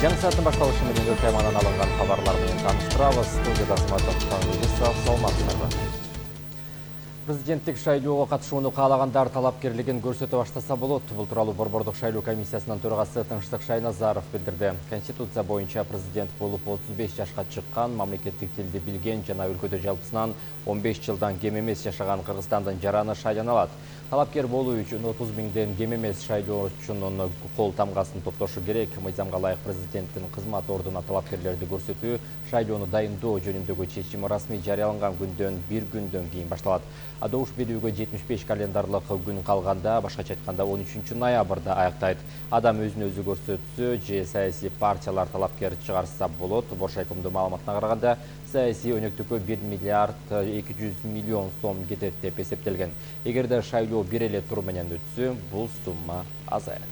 Жаңы сааттын башталышы менен темадан алынган хабарлар менен тааныштырабыз. Студияда саламатсыздарбы. Президенттик шайлоого катышууну каалагандар талапкерлигин көрсөтө баштаса болот. Бул тууралуу Борбордук шайлоо комиссиясынын төрагасы Тынчтык Шайназаров билдирди. Конституция боюнча президент болуп 35 жашка чыккан, мамлекеттик тилди билген жана өлкөдө жалпысынан 15 жылдан кем эмес жашаган Кыргызстандын жараны шайлана алат. Талапкер болуу үчүн 30 миңден кем эмес шайлоочунун кол тамгасын топтошу керек. Мыйзамга ылайык президенттин кызмат ордуна талапкерлерди көрсөтүү шайлоону дайындоо жөнүндөгү чечим расмий жарыяланган күндөн бир күндөн кийин башталат. Добуш берүүгө 75 календарлык күн калганда, башкача айтканда 13 ноябрда аяктайт. Адам өзүн өзү көрсөтсө же саясий партиялар талапкер чыгарса болот. Боршайкомдун маалыматына караганда, саясий өнөктүккө 1 миллиард 200 миллион сом кетет деп эсептелген. Эгерде шайлоо бир эле тур менен өтсө, бул сумма азаят.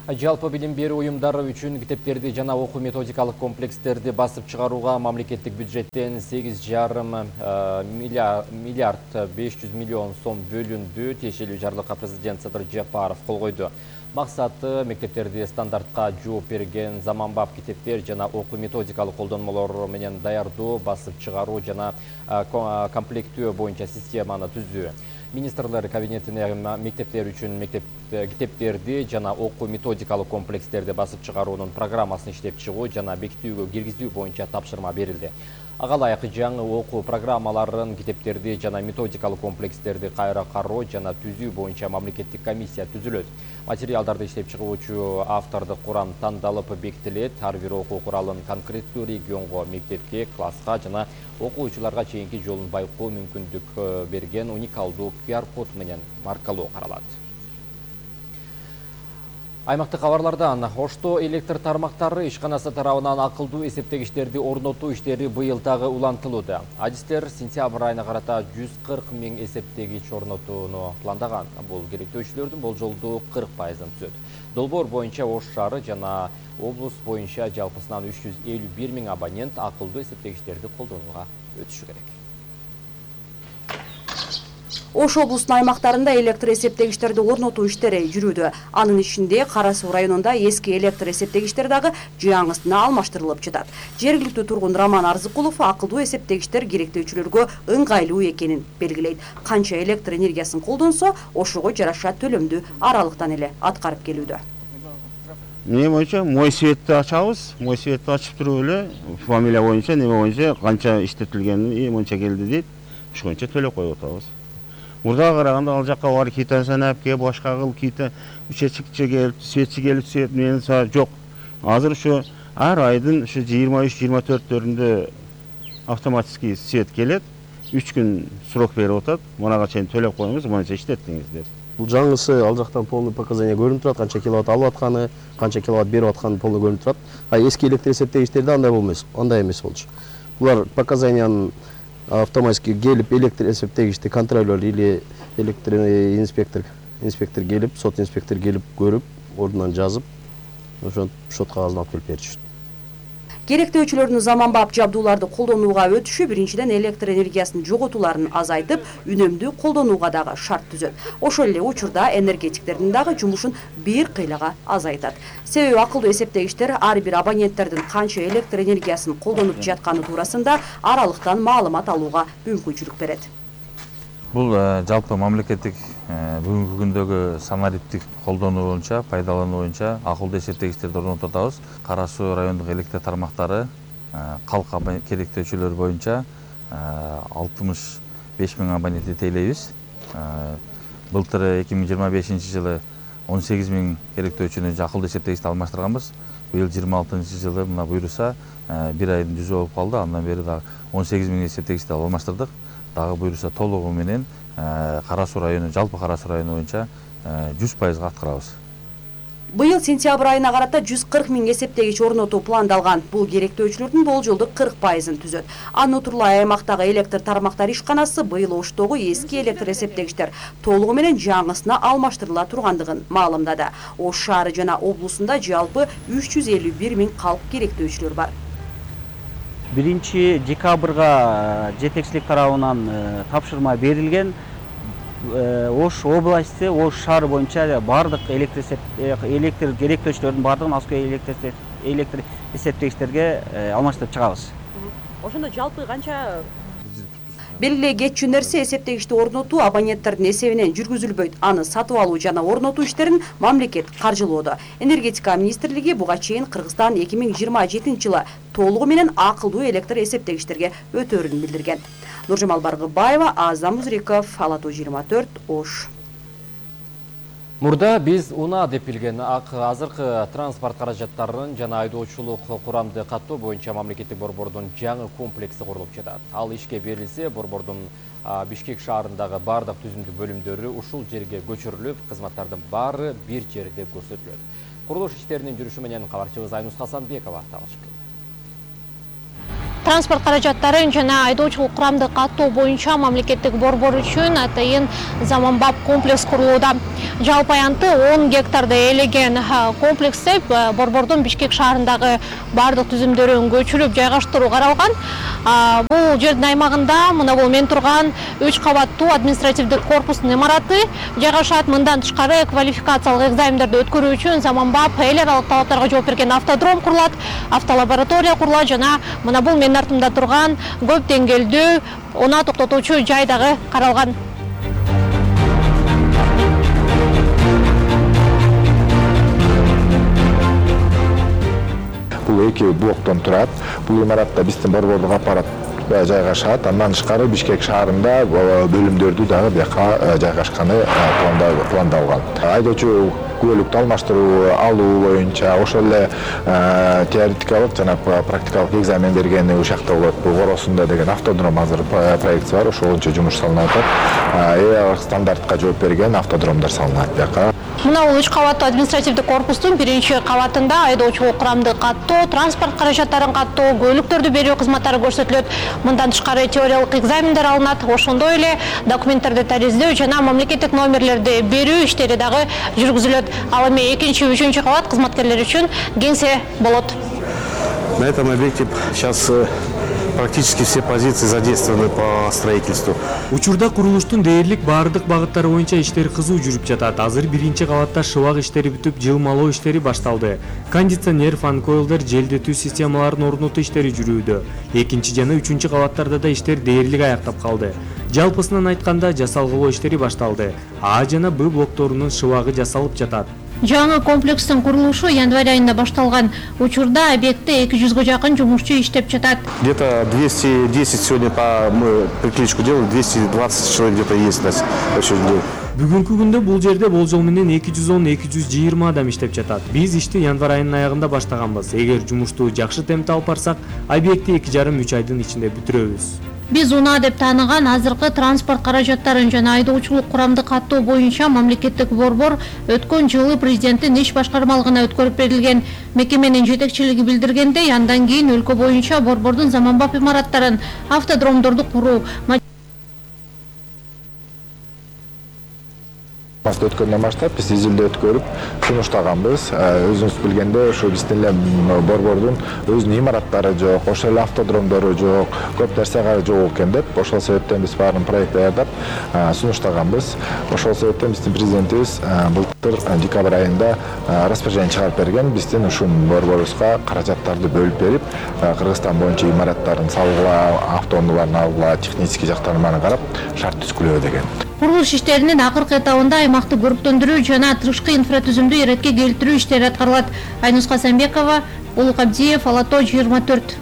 Жалпы билим берүү уюмдары үчүн китептерди жана окуу методикалык комплекстерди басып чыгарууга мамлекеттик бюджеттен 8,5 миллиард 500 миллион сом бөлүндү. Тиешелүү жарлыкка президент Садыр Жапаров кол койду. Максаты мектептерди стандартка жооп берген заманбап китептер жана окуу методикалык колдонмолор менен даярдоо, басып чыгаруу жана комплектөө боюнча системаны түзүү. Министрлер кабинетине мектептер үчүн китептерди жана окуу методикалык комплекстерди басып чыгаруунун программасын иштеп чыгуу жана бекитүүгө киргизүү боюнча тапшырма берилди. Ага ылайык жаңы окуу программаларын, китептерди жана методикалык комплекстерди кайра кароо жана түзүү боюнча мамлекеттик комиссия түзүлөт. Материалдарды иштеп чыгуучу автордук курам тандалып бекитилет. Ар бир окуу куралын конкреттүү регионго, мектепке, класска жана окуучуларга чейинки жолун байкоо мүмкүндүк берген уникалдуу QR-код менен маркалоо каралат. Аймактык кабарлардан Ошто электр тармактары ишканасы тарабынан акылдуу эсептегичтерди орнотуу иштери быйыл дагы улантылууда. Адистер сентябрь айына карата 140 миң эсептегич орнотууну пландаган. Бул керектөөчүлөрдүн болжолдуу 40%-ын түзөт. Долбоор боюнча Ош шаары жана облус боюнча жалпысынан 351 миң абонент акылдуу эсептегичтерди колдонууга өтүшү керек. Ош облусунун аймактарында электр эсептегичтерди орнотуу иштери жүрүүдө. Анын ичинде Кара Суу районунда эски электр эсептегичтер дагы жаңысына алмаштырылып жатат. Жергиликтүү тургун Роман Арзыкулов акылдуу эсептегичтер керектөөчүлөргө ыңгайлуу экенин белгилейт. Канча электр энергиясын колдонсо, ошого жараша төлөмдү аралыктан эле аткарып келүүдө. Эмне боюнча мой светти ачабыз, мой светти ачып туруп эле фамилия боюнча, неме боюнча канча иштетилгени, мынча келди дейт. Ошончо төлөп коюп атабыз. Мурдага караганда ал жакка бар китасын апке, башка кыл кита учетчикче келип, светчи келип свет менен жок. Азыр ушу ар айдын ушу 23-24-төрүндө автоматический свет келет. 3 күн срок берип атат. Мунага чейин төлөп коюңуз, мынча иштеттиңиз деп. Бул жаңысы ал жактан полный показания көрүнүп турат, канча киловатт алып атканы, канча киловатт берип атканы полный көрүнүп турат. А эски электр эсептегичтерде андай болмос, андай эмес болчу. Булар показаниянын автоматически келип электр эсептегичти контролер или электр инспектор келип, сот инспектор келип көрүп, ордунан жазып, ошо шот кагазын алып келип беришет. Керектөөчүлөрдүн заманбап жабдууларды колдонууга өтүшү биринчиден электр энергиясынын жоготууларын азайтып, үнөмдүү колдонууга дагы шарт түзөт. Ошол эле учурда энергетиктердин дагы жумушун бир кыйлага азайтат. Себеби акылдуу эсептегичтер ар бир абоненттердин канча электр энергиясын колдонуп жатканы туурасында аралыктан маалымат алууга мүмкүнчүлүк берет. Бул жалпы мамлекеттик бүгүнкү күндөгү самариптик колдонуу боюнча, пайдалануу боюнча акылдуу эсептегичтерди орнотуп атабыз. Кара Суу райондук электр тармактары калк керектөөчүлөр боюнча 65 миң абонентти тейлейбиз. Былтыр 2025 жылы 18 миң керектөөчүнү акылдуу эсептегичти алмаштырганбыз. Быйыл 26 жылы мына буйруса бир айдын жүзү болуп калды. Андан бери дагы 18 миң эсептегичти алмаштырдык. Дагы буйруса толугу менен Кара Суу району, жалпы Кара Суу району боюнча 100%га аткарабыз. Быйыл сентябрь айына карата 140 миң эсептегич орнотуу пландалган. Бул керектөөчүлөрдүн болжолдуу 40%-ын түзөт. Анутурлай аймактагы электр тармактар ишканасы быйыл Оштогу эски электр эсептегичтер толугу менен жаңысына алмаштырыла тургандыгын маалымдады. Ош шаары жана облусунда жалпы 351 миң калк керектөөчүлөр бар. 1 декабрга жетекчилик тарабынан тапшырма берилген. Ош области, Ош шаары боюнча бардык электрлөөчүлөрдүн бардыгын Аскөй электр эсептегичтерге алмаштырып чыгабыз. Ошондо жалпы канча белгилүү кетчү нерсе эсептегичти орнотуу абоненттердин эсебинен жүргүзүлбөйт. Аны сатып алуу жана орнотуу иштерин мамлекет каржылоодо. Энергетика министрлиги буга чейин Кыргызстан 2027 жылы толугу менен акылдуу электр эсептегичтерге өтөөрүн билдирген. Нуржамал Баргыбаева, Азам Музриков, Ала Тоо 24, Ош. Мурда биз УНА деп билген азыркы транспорт каражаттарын жана айдоочулук курамды каттоо боюнча мамлекеттик борбордун жаңы комплекси курулуп жатат. Ал ишке берилсе, борбордун Бишкек шаарындагы бардык түзүмдүк бөлүмдөрү ушул жерге көчүрүлүп, кызматтардын баары бир жерде көрсөтүлөт. Курулуш иштеринин жүрүшү менен кабарчыбыз Айнус Хасанбекова таанышып келди. Транспорт каражаттарын жана айдоочулук курамды каттоо боюнча мамлекеттик борбор үчүн атайын заманбап комплекс курулууда. Жалпы аянты 10 гектарды ээлеген комплексте борбордун Бишкек шаарындагы бардык түзүмдөрүн көчүрүп жайгаштыруу каралган. Бул жердин аймагында мына бул мен турган 3 кабаттуу административдик корпустун имараты жайгашат. Мындан тышкары квалификациялык экзамендерди өткөрүү үчүн заманбап эл аралык талаптарга жооп берген автодром курулат, автолаборатория курулат жана мына бул мен артымда турган көп деңгээлдүү унаа токтотуучу жай дагы каралган. Бул эки блоктон турат. Бул имаратта биздин борбордук аппарат жайгашат. Андан тышкары Бишкек шаарында бөлүмдөрдү дагы бияка жайгашканы пландалган. Айдоочу куөлүктү алмаштыруу алуу боюнча ошол эле теоретикалык жана практикалык экзамен берген ушакта болот. Коросунда деген автодром азыр проектиси бар, ошол боюнча жумуш салынып атат. Стандартка жооп берген автодромдор салынат бияка. Мына бул 3 кабаттуу административдик корпустун биринчи кабатында айдоочулук курамды каттоо, транспорт каражаттарын каттоо, көлүктөрдү берүү кызматтары көрсөтүлөт. Мындан тышкары теориялык экзамендер алынат, ошондой эле документтерди тариздөө жана мамлекеттик номерлерди берүү иштери дагы жүргүзүлөт. Ал эми 2-3 кабат кызматкерлер үчүн кеңсе болот. На этом объекте сейчас практически все позиции задействованы по строительству. Учурда курулуштун дээрлик баардык багыттары боюнча иштер кызуу жүрүп жатат. Азыр биринчи кабатта шыбак иштери бүтүп, жылмалоо иштери башталды. Кондиционер, фан-койлдер, желдетүү системаларын орнотуу иштери жүрүүдө. Экинчи жана үчүнчү кабаттарда да иштер дээрлик аяктап калды. Жалпысынан айтканда жасалгылоо иштери башталды. А жана Б блокторунун шыбагы жасалып жатат. Жаңы комплекстин курулушу январь айында башталган. Учурда объектте 200 жакын жумушчу иштеп жатат. Где-то 210 сегодня мы приклеечку делали, 220 человек где-то есть на сегодняшний день. Бүгүнкү күндө бул жерде болжол менен 210-220 адам иштеп жатат. Биз ишти январь айынын аягында баштаганбыз. Эгер жумушту жакшы темпте алып барсак, объектти 2,5-3 айдын ичинде бүтүрөбүз. Биз УНА деп тааныган азыркы транспорт каражаттарын жана айдоочулук курамды каттоо боюнча мамлекеттик борбор өткөн жылы президенттин иш башкармалыгына өткөрүп берилген. Мекеменин жетекчилиги билдиргендей, андан кийин өлкө боюнча борбордун заманбап имараттарын, автодромдорду куруу Өткөндөн баштап биз изилдөө өткөрүп сунуштаганбыз. Өзүңүз билгендей, ошо биздин эле борбордун өзүнүн имараттары жок, ошол эле автодромдору жок, көп нерсе жок экен деп, ошол себептен биз баарын проект даярдап сунуштаганбыз. Ошол себептен биздин президентибиз былтыр декабрь айында распоряжение чыгарып берген, биздин ушул борборубузга каражаттарды бөлүп берип, Кыргызстан боюнча имараттарын салгыла, автоунааларын алгыла, технический жактарын баарын карап, шарт түзгүлөө деген. Курулуш иштеринин акыркы этабында аймакты көрктөндүрүү жана тышкы инфратүзүмдү иретке келтирүү иштери аткарылат. Айнус Хасанбекова, Улук Абдиев, Ала Тоо 24.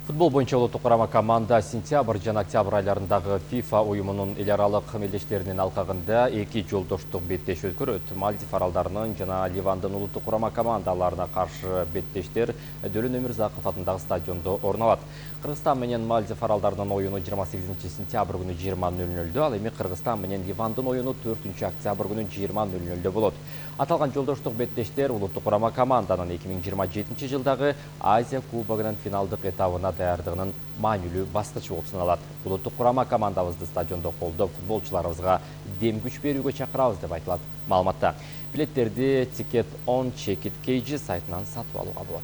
Футбол боюнча улуттук курама команда сентябрь жана октябрь айларындагы FIFA уюмунун эл аралык мелдештеринин алкагында 2 жолдоштук беттеш өткөрөт. Мальдив аралдарынын жана Ливандын улуттук курама командаларына каршы беттештер Дөлөн Өмүрзаков атындагы стадиондо орун алат. Кыргызстан менен Мальдив аралдарынын оюну 28 сентябрь күнү 20:00, ал эми Кыргызстан менен Ливандын оюну 4 октябрь күнү 20:00 болот. Аталган жолдоштук беттештер улуттук курама команданын 2027 жылдагы Азия кубогунун финалдык этабына даярдыгынын маанилүү баскычы болуп саналат. Улуттук курама командабызды стадиондо колдоп, футболчуларыбызга дем күч берүүгө чакырабыз деп айтылат маалыматта. Билеттерди Ticket on Check It KG сайтынан сатып алууга болот.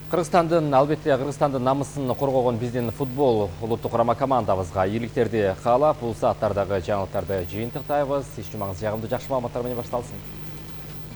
Албетте Кыргызстандын намысын коргогон биздин футбол улуттук курама командабызга ийгиликтерди каалап, бул сааттардагы жаңылыктарды жыйынтыктайбыз. Иш жумаңыз жагымдуу, жакшы маалыматтар менен башталсын.